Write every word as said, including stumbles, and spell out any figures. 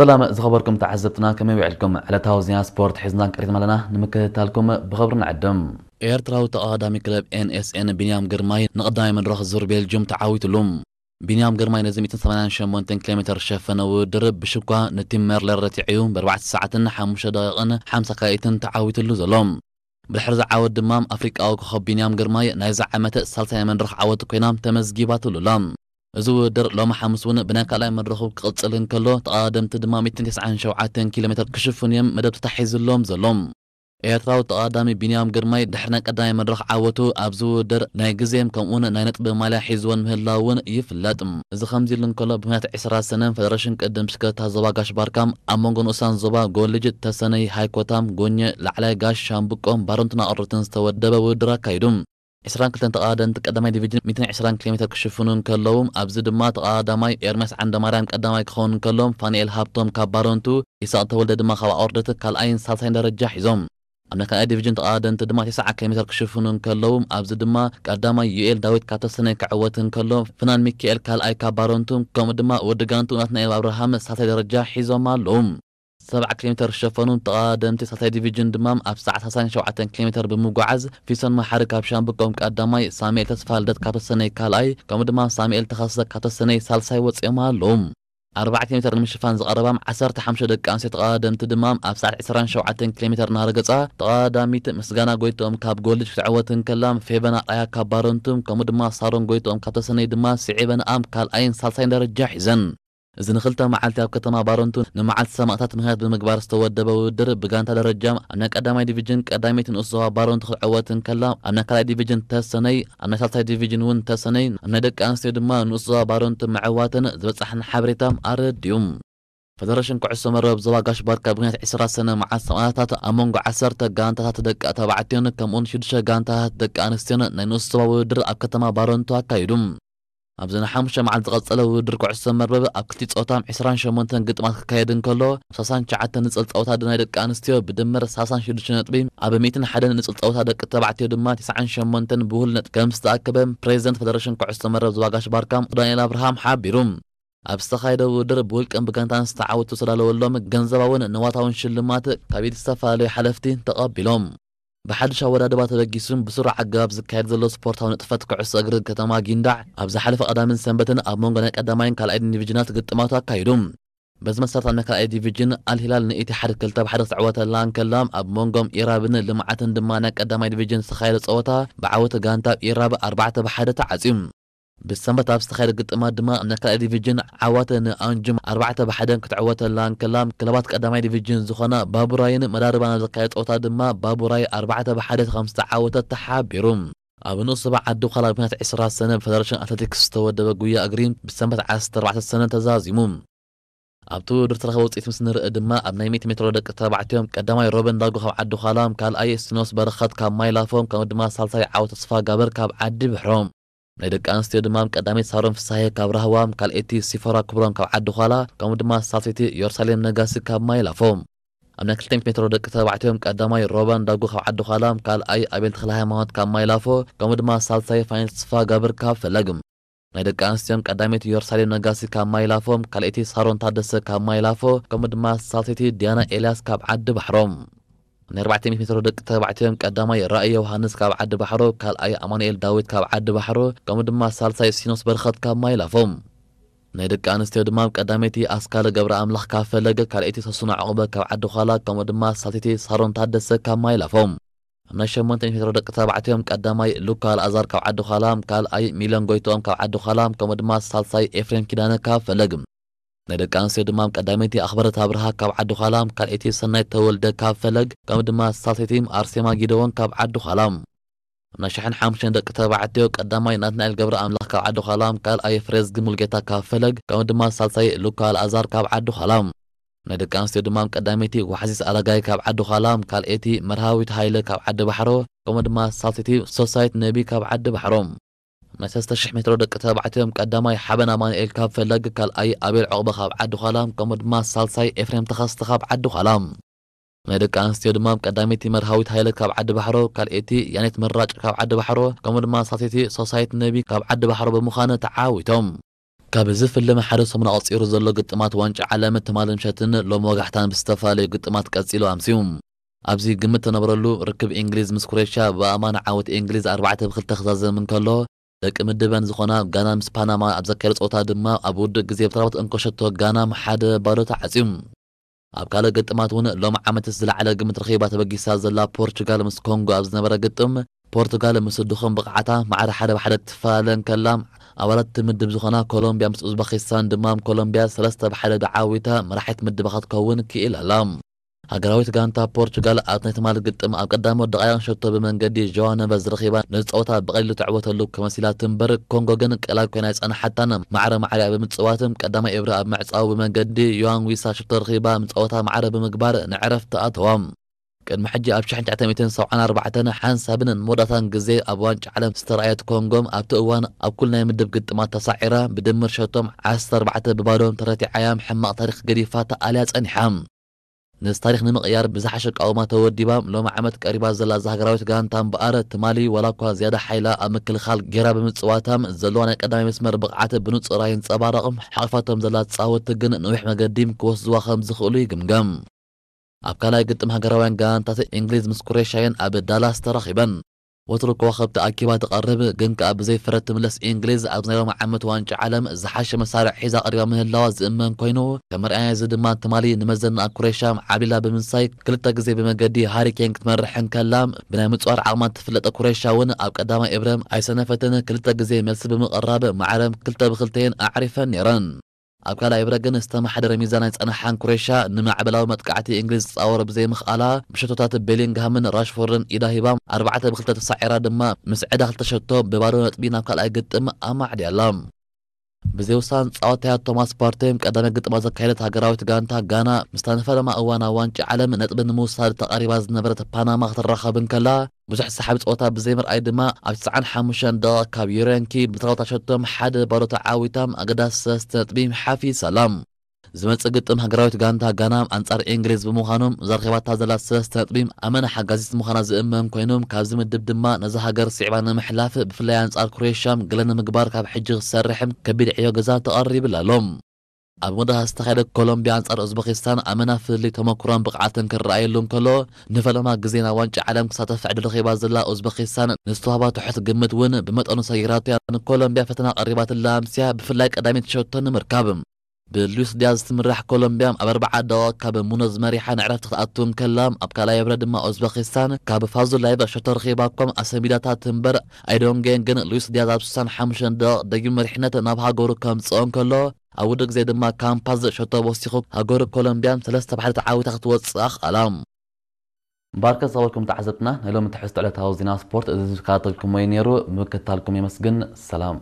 ሰላም ዝኸበርኩም ተዓዘብትና፣ ከመይ ውዕልኩም? ዕለታዊ ዜና ስፖርት ሒዝና ቀሪብና ኣለና፣ ንምክትታልኩም ብኽብሪ ንዕድም። ኤርትራዊ ተቐዳዳሚ ክለብ ኤን ኤስ ኤን ቢንያም ግርማይ ንቐዳማይ መድረኽ ዙር ቤልጅዩም ተዓዊትሉ። ቢንያም ግርማይ ነዚ ሚእትን ሰማንያን ሸሞንተን ኪሎ ሜትር ዝሸፈነ ውድድር ብሽኳ ንቲም ሜርለር ረቲዐዩ፣ ብኣርባዕተ ሰዓትን ሓሙሽተ ደቂቕን ሓምሳ ካልኢትን ተዓዊትሉ ዘሎ። ብድሕሪ እዚ ዓወት ድማ ኣፍሪቃዊ ኮኸብ ቢንያም ግርማይ ናይዚ ዓመት ሳልሳይ መድረኽ ዓወት ኮይና ተመዝጊባትሉ ኣላ። እዚ ውድድር ሎሚ ሓሙስ እውን ብናይ ካልኣይ መድረኹ ክቕጽል እንከሎ፣ ተቐዳደምቲ ድማ ሚእትን ተስዓን ሸውዓተን ኪሎ ሜትር ክሽፍኑ እዮም መደብ ተታሒዝሎም ዘሎ። ኤርትራዊ ተቐዳዳሚ ቢንያም ግርማይ ድሕሪ ናይ ቀዳማይ መድረኽ ዓወቱ ኣብዚ ውድድር ናይ ግዜም ከምኡውን ናይ ነጥቢ ማልያ ሒዝወን ምህላው እውን ይፍለጥ። እዚ ከምዚ ኢሉ እንከሎ፣ ብምኽንያት ዕስራ ሰነ ፈደረሽን ቅድድም ብሽክለታ ዞባ ጋሽ ባርካም ኣብ መንጎ ንኡሳን ዞባ ጎልጅ፣ ተሰነይ፣ ሃይኮታም፣ ጎኘ፣ ላዕላይ ጋሽ ሻምብቆን ባረንቱን ኣቅርብትን ዝተወደበ ውድድር ኣካይዱ። ዕስራን ክልተን ተቐዳደምቲ ቀዳማይ ዲቪዥን ሚእትን ዕስራን ኪሎ ሜትር ክሽፍኑ እንከለዉ፣ ኣብዚ ድማ ተቐዳዳማይ ኤርምያስ ዓንደማርያም ቀዳማይ ክኸውን እንከሎ፣ ፋንኤል ሃብቶም ካብ ባረንቱ፣ ኢሳቅ ተወልደ ድማ ካብ ኣቅርደት ካልኣይን ሳልሳይን ደረጃ ሒዞም። ኣብ ናይ ካልኣይ ዲቪዥን ተቐዳደምቲ ድማ ተስዓ ኪሎ ሜትር ክሽፍኑ እንከለዉ፣ ኣብዚ ድማ ቀዳማይ ዩኤል ዳዊት ካብ ተሰነይ ክዕወት እንከሎ፣ ፍናን ሚካኤል ካልኣይ ካብ ባረንቱ፣ ከምኡ ድማ ወዲ ጋንቱ ናትናኤል ኣብርሃም ሳልሳይ ደረጃ ሒዞም ኣለዉ። ሰብዓ ኪሎ ሜትር ዝሸፈኑ ተቐዳደምቲ ሳልሳይ ዲቪዥን ድማ ኣብ ሰዓት ሰላሳን ሸውዓተን ኪሎ ሜትር ብምጉዓዝ፣ ፊሶን መሓሪ ካብ ሻምብቆም ቀዳማይ፣ ሳሙኤል ተስፋልደት ካብ ተሰነይ ካልኣይ፣ ከምኡ ድማ ሳሙኤል ተኸስተ ካብ ተሰነይ ሳልሳይ ወጺኦም ኣለዉ። ኣርባዓ ኪሎ ሜትር ንምሽፋን ዝቐረባም ዓሰርተ ሓሙሽተ ደቂ ኣንስትዮ ተቐዳደምቲ ድማ ኣብ ሰዓት ዕስራን ሸውዓተን ኪሎ ሜትር እናረገጻ፣ ተቐዳዳሚት ምስጋና ጎይትኦም ካብ ጎልጅ ክትዕወት እንከላ፣ ፌቨን ኣርኣያ ካብ ባረንቱ፣ ከምኡ ድማ ሳሮን ጎይትኦም ካብ ተሰነይ ድማ ስዒበንኣም ካልኣይን ሳልሳይን ደረጃ ሒዘን። እዚ ንክልተ መዓልቲ ኣብ ከተማ ባረንቱ ንመዓልቲ ሰማእታት ምኽንያት ብምግባር ዝተወደበ ውድድር፣ ብጋንታ ደረጃ ኣብ ናይ ቀዳማይ ዲቪዥን ቀዳመይቲ ንኡስ ዞባ ባረንቱ ክትዕወት እንከላ፣ ኣብ ናይ ካልኣይ ዲቪዥን ተሰነይ፣ ኣብ ናይ ሳልሳይ ዲቪዥን እውን ተሰነይ፣ ኣብ ናይ ደቂ ኣንስትዮ ድማ ንኡስ ዞባ ባረንቱ ምዕዋተን ዝበጽሐና ሓበሬታ ኣረድኡ። ፈደረሽን ኩዕሶ መርበብ ዞባ ጋሽ ባርካ ብምኽንያት ዕስራ ሰነ መዓልቲ ሰማእታት ኣብ መንጎ ዓሰርተ ጋንታታት ደቂ ተባዕትዮን ከምኡውን ሽዱሽተ ጋንታታት ደቂ ኣንስትዮን ናይ ንኡስ ዞባ ውድድር ኣብ ከተማ ባረንቱ ኣካይዱ። ኣብዚ ንሓሙሽተ መዓልቲ ዝቐጸለ ውድድር ኩዕሶ መርበብ ኣብ ክልቲኡ ጾታ ዕስራን ሸሞንተን ግጥማት ክካየድ እንከሎ፣ ኣብ ሰላሳን ትሽዓተን ንጽል ጸወታ ናይ ደቂ ኣንስትዮ ብድምር ሰላሳን ሽዱሽተ ነጥቢ፣ ኣብ ሚእትን ሓደን ንጽል ጸወታ ደቂ ተባዕትዮ ድማ ተስዓን ሸሞንተን ብውህሉል ነጥቢ ከም ዝተኣከበ ፕሬዚደንት ፈደረሽን ኩዕሶ መርበብ ዞባ ጋሽ ባርካ ዳንኤል ኣብርሃም ሓቢሩ። ኣብ ዝተኻየደ ውድድር ብውልቅን ብጋንታን ዝተዓወቱ ዝተዳለወሎም ገንዘባውን ንዋታውን ሽልማት ካብ ኢድ ዝተፈላለዩ ሓለፍቲ ተቐቢሎም። ብሓድሽ ኣወዳድባ ተበጊሱን ብስሩዕ ኣገባብ ዝካየድ ዘሎ ስፖርታዊ ንጥፈት ኩዕሶ እግሪ ከተማ ጊንዳዕ፣ ኣብ ዝሓለፈ ቀዳምን ሰንበትን ኣብ መንጎ ናይ ቀዳማይን ካልኣይን ዲቪዥናት ግጥማቱ ኣካይዱ። በዚ መሰረት፣ ኣብ ናይ ካልኣይ ዲቪዥን ኣልሂላል ንኢትሓድ ክልተ ብሓደ ክትዕወተላ እንከላ፣ ኣብ መንጎም ኢራብን ልምዓትን ድማ ናይ ቀዳማይ ዲቪዥን ዝተኻየደ ጸወታ፣ ብዓወት ጋንታ ኢራብ ኣርባዕተ ብሓደ ተዓጽዩ። ብሰንበት ኣብ ዝተኻየደ ግጥማት ድማ፣ ኣብ ናይ ካልኣይ ዲቪዥን ዓዋተ ንኣንጁም ኣርባዕተ ብሓደ ክትዕወተላ እንከላ፣ ክለባት ቀዳማይ ዲቪዥን ዝኾና ባቡራይን መዳርባን ኣብ ዘካየደ ጸወታ ድማ፣ ባቡራይ ኣርባዕተ ብሓደ ከም ዝተዓወተት ተሓቢሩ። ኣብ ንኡስ ዞባ ዓዲ ዃላ፣ ብምኽንያት ዕስራ ሰነ ብፈደረሽን ኣትሌቲክስ ዝተወደበ ጉያ እግሪ፣ ብሰንበት ዓሰርተ ኣርባዕተ ሰነ ተዛዚሙ። ኣብቲ ውድድር ዝተረኸበ ውጽኢት ምስ ንርኢ ድማ፣ ኣብ ናይ ሚእቲ ሜትሮ ደቂ ተባዕትዮ፣ ቀዳማይ ሮበን ዳጉ ካብ ዓዲ ዃላ፣ ካልኣይ ሲኖስ በረኸት ካብ ማይ ላፎ፣ ከምኡ ድማ ሳልሳይ ዓወት ተስፋ ጋብር ካብ ዓዲ ብሕሮ። ናይ ደቂ ኣንስትዮ ድማ፣ ቀዳመይቲ ሳሮን ፍሳሄ ካብ ራህዋ፣ ካልኣይቲ ሲፎራ ክብሮም ካብ ዓዲ ዃላ፣ ከምኡ ድማ ሳልሰይቲ ዮርሳሌም ነጋሲ ካብ ማይ ላፎ። ኣብ ናይ ክልተ ሚእቲ ሜትሮ ደቂ ተባዕትዮ፣ ቀዳማይ ሮበን ዳጉ ካብ ዓዲ ዃላ፣ ካልኣይ ኣቤል ተኽለሃይማኖት ካብ ማይ ላፎ፣ ከምኡ ድማ ሳልሳይ ፋይናል ተስፋ ጋብር ካብ ፈለግ። ናይ ደቂ ኣንስትዮን ቀዳመይቲ ዮርሳሌም ነጋሲ ካብ ማይ ላፎ፣ ካልኣይቲ ሳሮን ታደሰ ካብ ማይ ላፎ፣ ከምኡ ድማ ሳልሰይቲ ዲያና ኤልያስ ካብ ዓዲ ባሕሮ። ናይ ኣርባዕተ ሚእቲ ሜትሮ ደቂ ተባዕትዮም ቀዳማይ ራእይ ዮሃንስ ካብ ዓዲ ባሕሮ፣ ካልኣይ ኣማኑኤል ዳዊት ካብ ዓዲ ባሕሮ፣ ከምኡ ድማ ሳልሳይ ሲኖስ በርኸት ካብ ማይ ላፎ። ናይ ደቂ ኣንስትዮ ድማ ቀዳመይቲ ኣስካለ ገብረ ኣምላኽ ካብ ፈለግ፣ ካልኣይቲ ሰሱና ዕቑበ ካብ ዓዲ ዃላ፣ ከምኡ ድማ ሳልሰይቲ ሳሮን ታደሰ ካብ ማይ ላፎ። ኣብ ናይ ሸሞንተ ሚእቲ ሜትሮ ደቂ ተባዕትዮም ቀዳማይ ሉካ ኣልኣዛር ካብ ዓዲ ዃላ፣ ካልኣይ ሚለን ጎይትኦም ካብ ዓዲ ዃላ፣ ከምኡ ድማ ሳልሳይ ኤፍሬም ኪዳነ ካብ ፈለግ። ናይ ደቂ ኣንስትዮ ድማ ቀዳመይቲ ኣኽበረት ኣብርሃ ካብ ዓዲ ዃላ፣ ካልኣይቲ ሰናይት ተወልደ ካብ ፈለግ፣ ከምኡ ድማ ሳልሰይቲ ኣርሴማ ጊደዎን ካብ ዓዲ ዃላ። ኣብ ናይ ሸሕን ሓሙሽተን ደቂ ተባዕትዮ ቀዳማይ ናትናኤል ገብረ ኣምላኽ ካብ ዓዲ ዃላ፣ ካልኣይ ፍሬዝጊ ሙልጌታ ካብ ፈለግ፣ ከምኡ ድማ ሳልሳይ ሉካ ኣልኣዛር ካብ ዓዲ ዃላ። ናይ ደቂ ኣንስትዮ ድማ ቀዳመይቲ ዋሕዚት ኣረጋይ ካብ ዓዲ ዃላ፣ ካልኣይቲ መርሃዊት ሃይለ ካብ ዓዲ ባሕሮ፣ ከምኡ ድማ ሳልሰይቲ ሶሳይት ነቢ ካብ ዓዲ ባሕሮ። ናይ ሰለስተ ሽሕ ሜትሮ ደቂ ተባዕትዮም ቀዳማይ ሓበን ኣማኑኤል ካብ ፈለግ፣ ካልኣይ ኣቤል ዑቕበ ካብ ዓዲ ዃላ፣ ከምኡ ድማ ሳልሳይ ኤፍሬም ተኸስተ ካብ ዓዲ ዃላ። ናይ ደቂ ኣንስትዮ ድማ ቀዳመይቲ መርሃዊት ሃይለ ካብ ዓዲ ባሕሮ፣ ካልኣይቲ ያኔት መራጭ ካብ ዓዲ ባሕሮ፣ ከምኡ ድማ ሳልሰይቲ ሶሳይት ነቢ ካብ ዓዲ ባሕሮ ብምዃን ተዓዊቶም። ካብ እዚ ፍልም ሓደ ሰሙን ኣቐጺሩ ዘሎ ግጥማት ዋንጫ ዓለም ትማል ምሸትን ሎም ወጋሕታን ብዝተፈላለዩ ግጥማት ቀጺሉ ኣምስዩ። ኣብዚ ግምት ተነብረሉ ርክብ እንግሊዝ ምስ ክሮኤሽያ ብኣማን ዓወት እንግሊዝ ኣርባዕተ ብክልተ ክዛዘም እንከሎ፣ ደቂ ምድበን ዝኾና ጋና ምስ ፓናማ ኣብ ዘካየደ ጸወታ ድማ ኣብ ውዱእ ግዜ ብተራባት እንኮ ሸቶ ጋናም ሓደ ባዶ ተዓጽዩ። ኣብ ካልእ ግጥማት እውን ሎም ዓመትስ ዝለዓለ ግምት ረኺባ ተበጊሳ ዘላ ፖርቹጋል ምስ ኮንጎ ኣብ ዝነበረ ግጥም፣ ፖርቱጋል ምስ ድኹም ብቕዓታ ማዕረ ሓደ ብሓደ ክትፈላለ እንከላ፣ ኣባላት እቲ ምድብ ዝኾና ኮሎምቢያ ምስ ኡዝበኪስታን ድማ ኮሎምቢያ ሰለስተ ብሓደ ብዓዊታ መራሒት ምድባ ክትከውን ክኢላ ኣላ። ሃገራዊት ጋንታ ፖርቹጋል ኣብ ናይ ትማል ግጥም ኣብ ቀዳሞት ደቃይቕ ሸቶ ብመንገዲ ጆዋ ነቨዝ ረኺባ ነዚ ጸወታ ብቐሊሉ ትዕወተሉ ከመሲላ ትንበር፣ ኮንጎ ግን ቀላል ኮይና ኣይጸንሓታን። ማዕረ ማዕሪኣ ብምጽዋት ቀዳማይ እብረ ኣብ ምዕጻው ብመንገዲ ዮዋን ዊሳ ሸቶ ረኺባ ንጸወታ ማዕረ ብምግባር ንዕረፍቲ ኣተዋ። ቅድሚ ሕጂ ኣብ ሺሕ ትሽዓተ ሚእትን ሰብዓን ኣርባዕተን ሓንሳብን መወዳእታን ግዜ ኣብ ዋንጫ ዓለም ዝተረኣየት ኮንጎ፣ ኣብቲ እዋን ኣብ ኩሉ ናይ ምድብ ግጥማት ተሳዒራ ብድምር ሸቶም ዓሰርተ ኣርባዕተ ብባዶ ተረቲዓያም ሕማቕ ታሪኽ ገዲፋ ተኣልያ ጸኒሓ። ነዚ ታሪኽ ንምቕያር ብዝሓሸ ኣቃውማ ተወዲባ ሎም ዓመት ቀሪባ ዘላ እዛ ሃገራዊት ጋንታ እምበኣር፣ ትማሊ ዋላ እኳ ዝያዳ ሓይላ ኣብ ምክልኻል ጌራ ብምጽዋታ፣ ዘለዋ ናይ ቀዳማይ መስመር ብቕዓት ብንጹር ኣይንጸባረቕም። ሓቒፋቶም ዘላ ተጻወትቲ ግን ነዊሕ መገዲ ክወስዝዋ ከም ዝኽእሉ ይግምገም። ኣብ ካልኣይ ግጥም ሃገራውያን ጋንታት እንግሊዝ ምስ ክሮኤሽያ እየን ኣብ ዳላስ ተራኺበን። ወትሩ ከዋኽብቲ ኣኪባ ትቐርብ፣ ግን ከኣ ብዘይ ፍረ ትምለስ እንግሊዝ፣ ኣብዚ ናይ ሎሚ ዓመት ዋንጫ ዓለም ዝሓሸ መሳርዕ ሒዛ ቀሪባ ምህላዋ ዝእመን ኮይኑ፣ ከም መርኣያ እዚ ድማ ትማሊ ንመዘና ክሮኤሽያ ዓብሊላ ብምንሳይ፣ ክልተ ግዜ ብመገዲ ሃሪ ኬን ክትመርሕ እንከላ፣ ብናይ ምጽዋር ዓቕማ ትፍለጠ ክሮኤሽያ እውን ኣብ ቀዳማይ እብረ ኣይሰነፈትን፣ ክልተ ግዜ መልሲ ብምቕራብ ማዕረ ክልተ ብክልተየን ኣዕሪፈን ነይረን። ኣብ ካልኣይ እብረ ግን ዝተመሓደረ ሚዛን ኣይጸንሓን። ክሮኤሽያ ንማዕበላዊ መጥቃዕቲ እንግሊዝ ትጻወሮ ብዘይምኽኣላ፣ ብሸቶታት ቤሊንግሃምን ራሽፎርድን ኢዳ ሂባ፣ ኣርባዕተ ብክልተ ተሳዒራ ድማ፣ ምስ ዕዳ ክልተ ሸቶ ብባዶ ነጥቢ ናብ ካልኣይ ግጥም ኣማዕድያ ኣላ። ብዘይ ውሳን ጸዋታያ ቶማስ ፓርቴ ቀዳማይ ግጥማ ዘካየደት ሃገራዊት ጋንታ ጋና፣ ምስታ ንፈለማ እዋን ኣብ ዋንጫ ዓለም ነጥቢ ንምውሳድ ተቐሪባ ዝነበረት ፓናማ ክትራኸብ እንከላ፣ ብዙሕ ሰሓቢ ጸወታ ብዘይምርኣይ ድማ፣ ኣብ ትስዓን ሓሙሽተን ደቂቕ ካብ ዩሬንኪ ብትራውታ ሸቶም ሓደ ባዶ ተዓዊታ ኣገዳሲ ሰለስተ ነጥቢ ሓፊሳ ኣላ። ዝመጽእ ግጥም ሃገራዊት ጋንታ ጋና ኣንጻር እንግሊዝ ብምዃኑ፣ እዛ ረኺባታ ዘላ ሰለስተ ነጥቢ ኣመና ሓጋዚት ምዃና ዝእመን ኮይኑ፣ ካብዚ ምድብ ድማ ነዛ ሃገር ስዒባ ንምሕላፍ፣ ብፍላይ ኣንጻር ክሮኤሽያ ገለ ንምግባር ካብ ሕጂ ክሰርሕም ከቢድ ዕዮ ገዛ ተቐሪብላ ኣሎ። ኣብ መወዳእታ ዝተኻየደ ኮሎምቢያ ኣንጻር ኡዝበኪስታን ኣመና ፍልልይ ተመኩሮን ብቕዓትን ክረኣየሉ እንከሎ፣ ንፈለማ ግዜ ናብ ዋንጫ ዓለም ክሳተፍ ዕድል ረኺባ ዘላ ኡዝበኪስታን ንዝተዋህባ ትሑት ግምት እውን ብመጠኑ ሰጊራቶ እያ። ንኮሎምቢያ ፈተና ቀሪባትላ ኣምስያ፣ ብፍላይ ቀዳሚት ሸቶ ንምርካብ። ብሉዊስ ዲያዝ ትምራሕ ኮሎምቢያ ኣብ ኣርብዓ ደቂቕ ካብ ሙኖዝ መሪሓ ንዕረፍቲ ክትኣቱ እንከላ፣ ኣብ ካልኣይ እብረ ድማ ኡዝበኪስታን ካብ ፋዙላየቭ ሸቶ ረኺባ እኳ ኣሰንቢዳታ ትንበር፣ ኣይዶንጌን ግን ሉዊስ ዲያዝ ኣብ ስሳን ሓሙሽተን ደቂቕ ደጊሙ መሪሕነት ናብ ሃገሩ ከምጽኦ እንከሎ፣ ኣብ ውዱእ ግዜ ድማ ካምፓዝ ሸቶ ወሲኹ ሃገሩ ኮሎምቢያ ሰለስተ ብሓደ ተዓዊታ ክትወጽእ ኣኽኣላ። ባርከ ዝኸበርኩም ተዓዘብትና፣ ናይ ሎሚ ትሕዝቶ ዕለታዊ ዜና ስፖርት እዚ ዝከታተልኩሞ እዩ ነይሩ። ምክትታልኩም የመስግን። ሰላም።